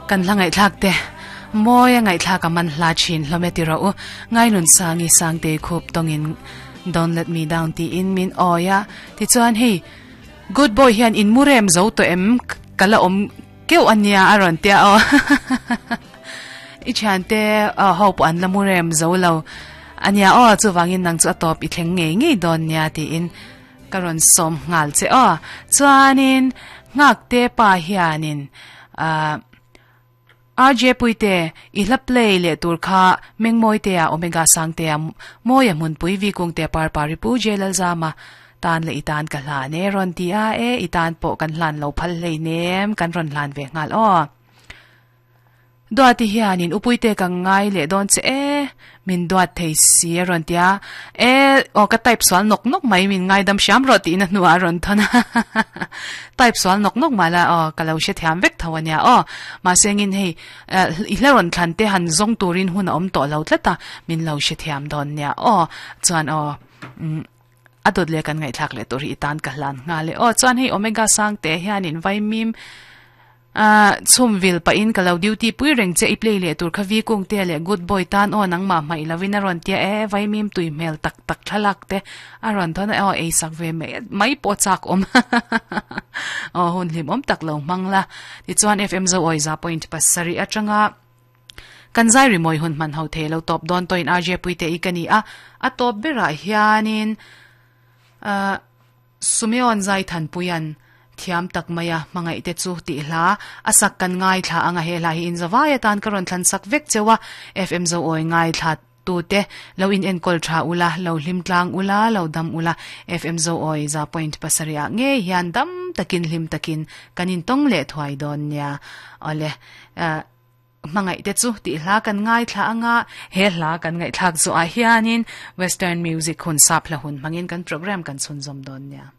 Kan hla ngaihthlak te mawi a ngaihthlak a man hla thin hlawm e ti rawh u. Ngailun Sangi Sangtei khup tawngin Don't let me down tiin min awi a. Tichuan hei Good boy hian in mu rem zo tawh em ka la awm keuh a nia a rawn tia aw. I thiante ho pawh an la mu rem zo lo a nia aw chuvangin nang chu a tawp i thleng ngei ngei dawn nia tiin Ka rawn sawm nghal che aw. Chuanin Nghakte pa hianin ahh RJ Puite i hla play leh tur kha Mengmawitea Omega Sangtea Mawia Hmunpui Vikungtea Parpari Pu J Lalzama tan leh i tan ka hlan e rawn ti a e i tan pawh kan hlan lo phal hleinem kan rawn hlan ve nghal aw. Duati hianin u Puite ka ngai leh dawn che e, min duat thei si a rawn ti a, e aw ka type sual nawk nawk mai min ngaidam hriam rawh tiin a hnuah a rawn thawn a, type sual nawk nawk mah la aw ka lo hre thiam vek tho a nia aw, mahse engin hei i hla rawn thlan te han zawng turin hun a awm tawh lo tlat a, min lo hre thiam dawn nia aw, chuan aw umm a dawt leh kan ngaihthlak leh tur hi i tan ka hlan nghal e aw, chuan hei Omega Sangte hianin vaimim. Ahh chhum vil pahin ka lo duty pui reng che i play leh tur kha vi kung te leh good boy tan aw nangmah hmaih lovin a rawn tia e vaimim tui hmel tak tak thlalak te a rawn thawn a aw ei sak ve mai mai pawh chak awm aw hun hlim awm tak lo hmang la tichuan FM zo awi za point pasarih atanga kan zai rimawi hun hman ho thei lo tawp dawn tawhin RJ Puite i ka ni a a tawp berah hianin ahh Sumeon Zaithanpuia'n thiam tak mai a hmangaih te chu tih hla a sak kan ngaithla ang a, he hla hi inzawai atan ka rawn thlan sak vek cheu a, FM Zoawi ngaithla tute lo in enkawl tha ula, lo hlim tlang ula, lo dam ula, FM Zoawi za point pasarih ah ngei hian dam takin hlim takin kan intawng leh thuai dawn nia. Awle. Hmangaih te chu tih hla kan ngaithla anga he hla kan ngaihthlak zawhah hianin Western music hun sap hla hun hmangin kan program kan chhunzawm dawn nia.